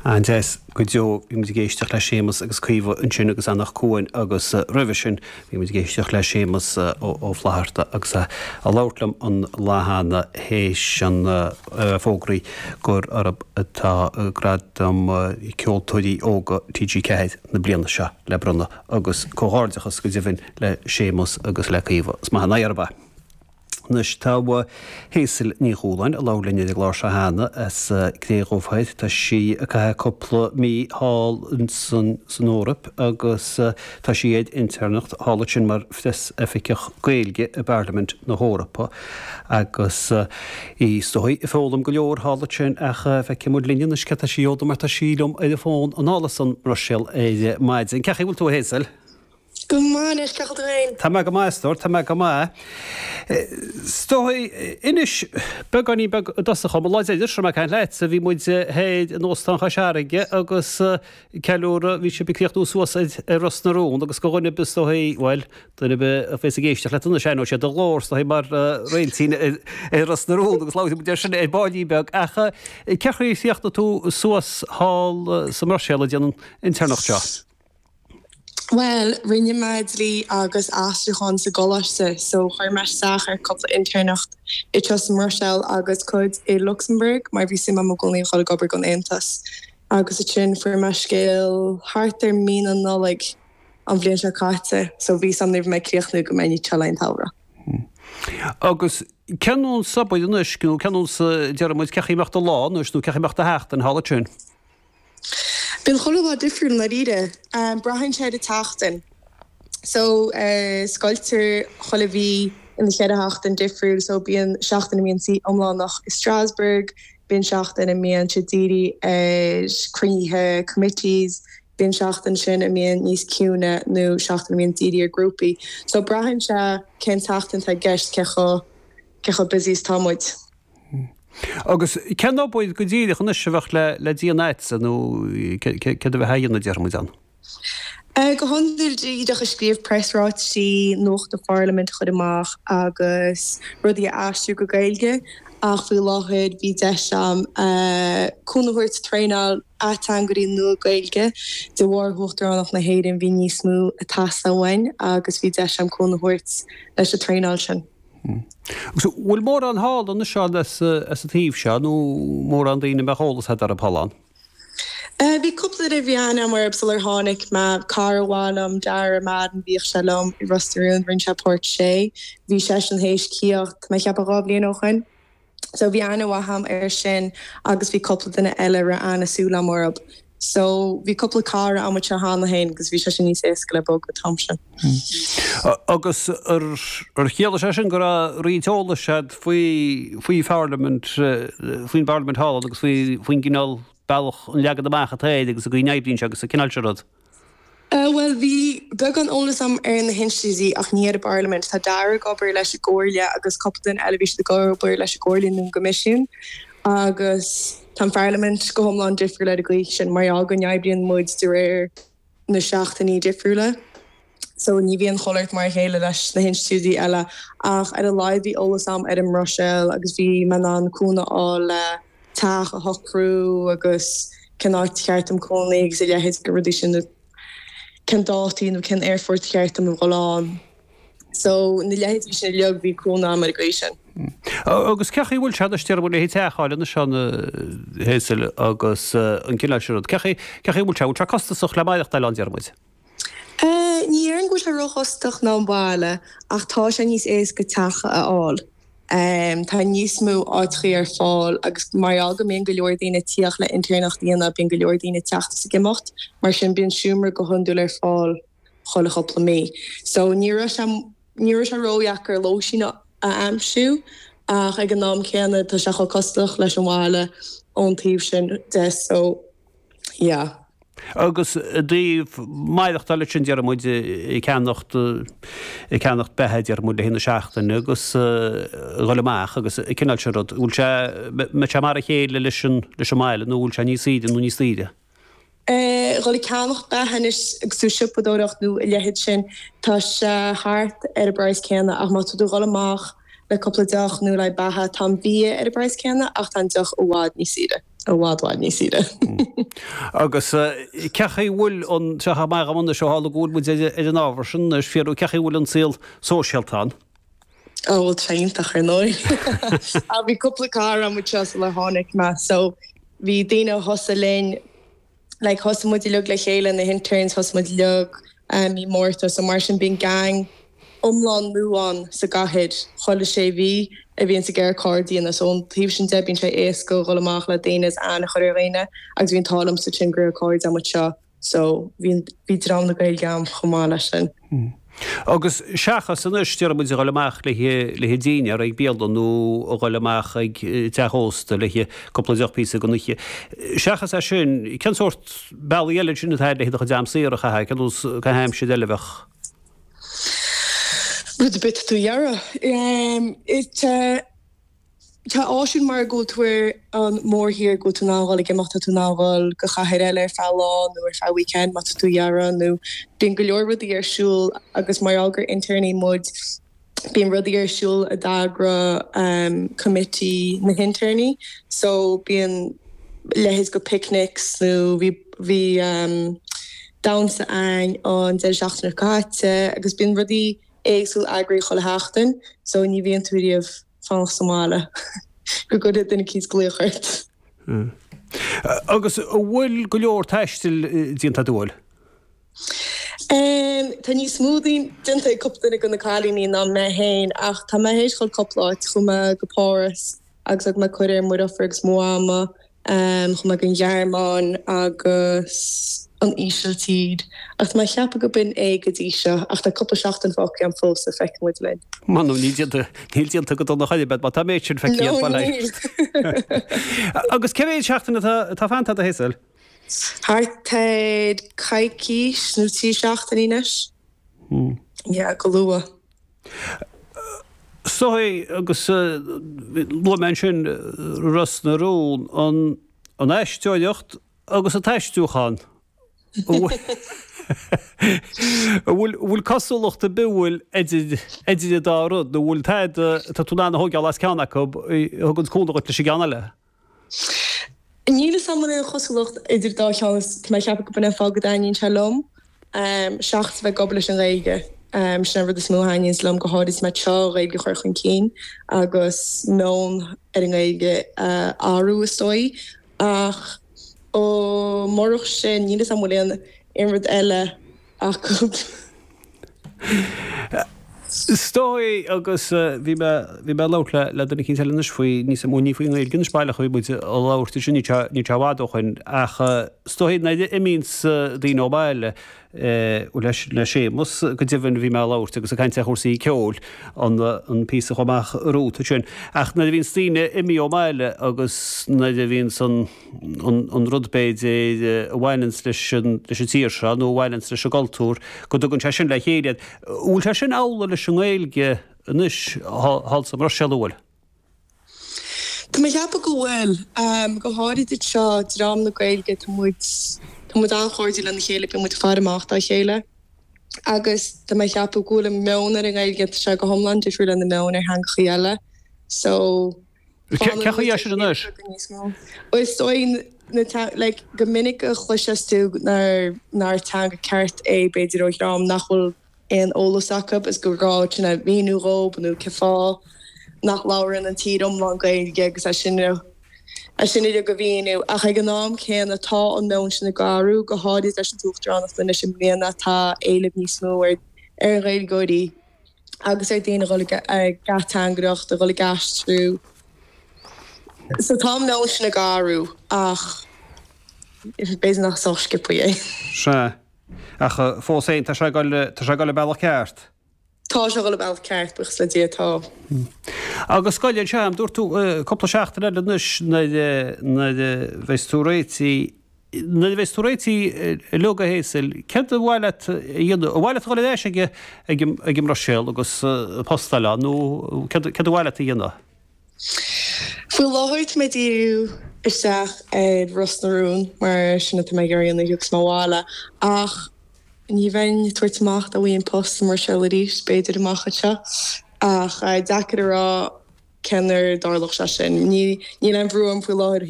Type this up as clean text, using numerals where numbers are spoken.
An-deas go deo. Bhí muid ag éisteacht le Séamus agus Caoimhe ansin agus Anach Cuain agus roimhe sin bhí muid ag éisteacht le Séamus Ó Flatharta agus é ag labhairt liom an lá cheana théis an fógraí gur orthu atá Gradam Ceoltóirí Óga TG4 na bliana seo le bronnadh agus comhghairdeachas go deimhin le Séamus agus le Caoimhe. Is maith an aghaidh orthu é. Anois tá Hazel Ní Chualáin a labhair linn ar an gclár seo cheana as Cré Dhubh Thoir. Tá sí ag caitheamh cúpla mí thall san Eoraip agus tá sí ar intéirneacht thall ansin mar phreasoifigeach Gaeilge i bParlaimint na hEorpa agus í is dóigh ag foghlaim go leor thall ansin ach feicfidh muid linn anois céard tá sí a fhoghlaim mar tá sí liom ar an bhfón anall as an mBruiséil ar maidin. Cén chaoi a bhfuil tú a Hazel? Go maith anois, cén chaoi a bhfuil tú féin? Tá mé go maith, a stór, tá mé go maith. Is dóigh, inis beagáinín beag i dtosach dhom, an lá deireanach a raibh mé ag caint leatsa, bhí muid thoir in Óstán Chois Fharraige agus ceiliúradh, bhí sibh ag críochnú suas ar Ros na Rún agus do dhuine ar bith is dóigh, bhuel, duine ar bith a bheas ag éisteacht leat anois, aithneoidh siad do ghlór, is dóigh, mar réiltín ar Ros na Rún agus labhróidh muid air sin ar baillín beag. Ach cén chaoi ar chríochnaigh tú suas thall sa mBruiséil ag déanamh an intéirneacht seo? Bhuel, rinne mé dlí agus aistriúchán sa gcoláiste so chuir mé isteach ar cúpla intéirneacht anseo sa mBruiséil agus cuid i Lucsamburg mar bhí suim agam i gcónaí a dhul ag obair don Aontas. Agus ansin fuair mé scéal thart ar mí na Nollag an bhliain seo caite so bhí 's a'm nuair a bhí mé ag críochnú go mbeinn anseo le an tsamhradh. Agus cén nós obair anois nó cén nós déarfaidh muid cén chaoi a mbeadh do lá anois nó cén chaoi a mbeadh do sheachtain thall ansin? Bíonn chuile lá difriúil i ndáiríre. Braitheann sé ar an tseachtain. So, scoiltear chuile mhí ina cheithre sheachtain difriúil. So, bíonn seachtain a mbíonn suí iomlánach i Strasbourg, bíonn seachtain a mbíonn sé dírithe ar cruinnithe committees, bíonn seachtain sin a mbíonn níos ciúine nó seachtain a mbíonn dírithe ar grúpaí. So, braitheann sé cén tseachtain atá i gceist, cé chomh, cé chomh busy is atá muid. Agus cén obair go díreach anois a bheadh le déanamh agatsa nó céard a bheifeá a dhéanamh déarfaidh muid ann? Go hiondúil díreach ag scríobh preasráitisí, nuacht an Pharlaimint a chur amach agus rudaí a aistriú go Gaeilge ach faoi láthair bhí deis agam cúnamh a thabhairt traenáil ateangairí nua Gaeilge. De bharr Uachtaránacht na hÉireann bhí níos mó ag teastáil uainn agus bhí deis agam cúnamh a thabhairt leis an traenáil sin. Agus an bhfuil mórán thall anois as an taobh seo nó mórán daoine a mbeadh eolas agat orthu thall ann? Bhí cúpla duine a bhí aithne agam orthu sular tháinig mé. Cara mhaith liom, Dara Madden, bhíodh sé liom i Ros na Rún, rinne sé páirt Shay. Bhí seisean théis tíocht, tá mé ag ceapadh 2 bhliain ó shoin. So bhí aithne mhaith agam air sin agus bhí cúpla duine eile a raibh aithne súil agam orthu. So bhí cúpla cara agam anseo cheana féin agus bhí sé sin níos éasca le bogadh an t-am sin. Agus ar chiallaigh sé sin go raibh roinnt eolais agat faoi faoi pharlaimint, faoin bparlaimint thall agus faoi faoin gcineál bealach, an leagan amach atá air agus an gcaoi a n-oibríonn sé agus an cineál sin rud? Bhuel, bhí beagán eolas agam ar na hinstitiúidí ach ní ar an bParlaimint. Tá Dara ag obair leis an gComhairle agus cúpla duine eile, bhí siad ag obair leis an gComhairle nó an gCoimisiún agus tá an Pharlaimint go hiomlán difriúil ar an gcaoi sin mar gheall go n-oibríonn muid de réir na seachtainí difriúla. So ní bhíonn chuile shórt mar a chéile leis na hinstitiúidí eile ach ar a laghad bhí eolas agam ar an mBruiséil agus bhí mé in ann cúnamh a fháil le teach a shocrú agus cén áit cheart dom cónaí agus a leithéid de rudaí sin nó cén dátaí nó cén aerfort cheart dom a dhul ann. So na leithéidí sin uilig bhí cúnamh agam ar an gcaoi sin. Agus cén chaoi a bhfuil sé anois déarfaidh muid le teach a fháil anois ann a Hazel agus an cineál sin rud. Cén chaoi cén chaoi a bhfuil sé? Bhfuil sé costasach le maireachtáil ann déarfaidh muid? Ní déarfainn go bhfuil sé róchostasach ná an baile ach tá sé níos éasca teach a fháil. Tá níos mó áiteachaí ar fáil agus mar gheall go mbíonn go leor daoine ag tíocht le intéirneacht a dhéanamh, bíonn go leor daoine ag teacht is ag imeacht, mar sin bíonn seomra go hiondúil ar fáil chuile chúpla mí. So ní raibh sé, ní raibh sé ródheacair lóistín a aimsiú ach ag an am céanna tá sé chomh costasach leis an bhaile ón taobh sin de so yeah. Agus i dtaobh maireachtáil ansin, déarfaidh muid, ag ceannacht, ag ceannacht beatha, déarfaidh muid, le haghaidh na seachtaine agus a dhul amach agus an cineál sin rud, bhfuil sé, mbeidh sé mar a chéile leis an, leis an mbaile nó bhfuil sé níos saoire nó níos daoire? Dhul ag ceannacht beatha anois agus tú ag siopadóireacht nó a leithéid sin, tá sé thart ar an bpraghas céanna ach má tá tú ag dhul amach le cúpla deoch nó le beatha, tá an bia ar an bpraghas céanna ach tá an deoch i bhfad níos saoire. i bhfad bhfad níos saoire. Agus cén chaoi a bhfuil an, seo amach anois ó tharla go bhfuil muid ar an ábhar sin anois, fiafraí cén chaoi a bhfuil an saol sóisialta ann? Ó bhuel tá sé iontach ar ndóigh. Ach bhí cúpla cara agam anseo sular tháinig mé so bhí daoine a thosaigh linn like thosaigh muid uilig le chéile na hinterns thosaigh muid uilig mí Márta so mar sin bíonn gang iomlán nua ann sa gcathair chuile sé mhí a bhíonns ag iarraidh cairde a dhéanamh so ón taobh sin de bíonn sé éasca dhul amach le daoine is aithne a chur ar dhaoine agus bhí an t-ádh liomsa sin go raibh cairde agam anseo So, bhí, bhí dream na Gaeilge agam chomh maith leis sin. Agus seachas anois, déarfaidh muid, a dhul amach le haghaidh dinnéar ag bialann nó a dhul amach ag teach ósta le haghaidh cúpla deoch píosa don oíche, seachas é sin, cén sórt bealaí eile ansin atá agat le do chuid am saor a chaitheamh, cén nós caitheamh aimsire eile a bheadh? Rud ar bith atá tú a iarraidh. Tá. Tá áisiúil mar go bhfuil tú ar an mórthír, go bhfuil tú in ann dhul ag imeacht, tá tú in ann dhul go chathair eile ar feadh lá nó ar feadh weekend má tá tú a iarraidh nó bíonn go leor rudaí ar siúl agus mar gheall gur intéirní muid bíonn rudaí ar siúl a d'eagraigh committee na hintéirní so bíonn leithéid go picnics nó bhí bhí damhsa ann an deireadh seachtaine seo caite agus bíonn rudaí éagsúil eagraithe chuile sheachtain so ní bhíonn tú riamh fanacht sa mbaile go gcuirfidh duine eicínt glaoch ort. Agus an bhfuil go leor taistil déanta agat, an bhfuil? Tá níos mó déanta ag cúpla duine de na cailíní ná mé féin ach tá mé théis dhul cúpla áit. Chuaigh mé go Páras agus thug mé cuireadh ar mo dheirfiúr agus mo mhama. Chuaigh mé go an Ghearmáin agus an Ísiltír ach tá mé ag ceapadh go b'in é go dtí seo ach tá cúpla seachtain fágtha agam fós so feicfidh muid linn. M'anam níl déanta, níl déanta go dona chor ar bith má tá an méid sin feicthe agat, No níl. Agus cé mhéad seachtain atá, atá fanta agat a Hazel? Thart ar coicís nó 3 seachtainí anois. Yeah, go luath. So agus luaigh mé ansin Ros na Rún, an aisteoireacht agus an t-aistriúchán. An bhfuil cosúlacht ar bith bhfuil idir idir an dá rud nó bhfuil tada atá tú in ann a thógáil as ceann acu a thugann cúnamh dhuit leis an gceann eile? Níl 'fhios a'm an bhfuil aon chosúlacht idir dá cheann is tá mé ag ceapadh go b'in é an fáth go dtaitníonn sé liom seachas a bheith ag obair leis an Ghaeilge. Sin an rud is mó a thaitníonns liom, go háirid mé anseo, an Ghaeilge a chur chun cinn agus meon ar an nGaeilge a athrú is dóigh. Ach ó murach sin níl 'fhios a'm an bhfuil aon rud eile acu. Is dóigh, agus bhí mé, bhí mé ag labhairt le, le duine eicínt eile anois faoi, níos mó, ní faoin nGaeilge anois baileach a bhí muid ag labhairt ansin, níl sé, níl sé i bhfad ó shoin, ach is dóigh nuair a imíonns daoine ó bhaile, leis, le Séamus go deimhin bhí mé ag labhairt agus ag caint ar chúrsaí ceoil, an, an píosa chomh maith romhat ansin, ach nuair a bhíonns daoine imithe ó bhaile agus nuair a bhíonns an, an rud b'fhéidir a bhaineanns leis an tír seo nó a bhaineanns leis an gcultúr, go dtugann sé sin le chéile iad. An bhfuil sé sin amhlaidh leis an nGaeilge anois thall sa mBruiséil, an bhfuil? Tá mé ag ceapadh go bhfuil. Go háirid anseo, dream na Gaeilge, tá muid, tá muid an-chairdiúil lena chéile, bíonn muid ag faire amach dá chéile. Agus tá mé ag ceapadh go bhfuil an meon ar an nGaeilge, tá sé go hiomlán difriúil lena meon ar theangachaí eile. So. Cén chaoi é sin anois? Is dóigh like go minic a chloiseas tú nár teanga ceart é b'fhéidir ó dhream nach bhfuil aon eolas acu is gur gá sin a mhíniú dhób nó cén fáth nach labhrann an tír iomlán Gaeilge agus é sin é sin uilig a mhíniú. Ach ag an am céanna tá an meon sin ag athrú, go háirid leis an t-uachtaránacht anois i mbliana tá éileamh níos mó ar Ghaeilgeoirí. agus ar daoine a dhul ag ateangaireacht, a dhul ag aistriú. So tá an meon sin ag athrú ach b'fhéidir nach sách sciobtha é. Sea. Ach fós féin, tá sé ag dul, tá sé ag dul an bealach ceart. Tá sé ag dul an bealach ceart, buíochas le Dia, tá. Agus scoil anseo, dúirt tú cúpla seachtain eile anois nuair, nuair a bheas tú réitithe, Nuair a bheas tú réitithe uilig a Hazel, céard ar mhaith leat a dhéanamh? Ar mhaith leat a dhul ar ais ag an mBruiséil agus post a fháil ann nó céard ar mhaith leat a dhéanamh? Faoi láthair tá mé ag díriú isteach ar Ros na Rún mar sin atá mé ag iarraidh a dhéanamh nuair a thiocfas mé abhaile ach ní bheinn ag tabhairt amach dá bhfaighinn post sa mBruiséil arís, b'fhéidir amach anseo ach deacair a rá cén uair a dtarlódh sé sin. Níl aon bhrú orm faoi láthair.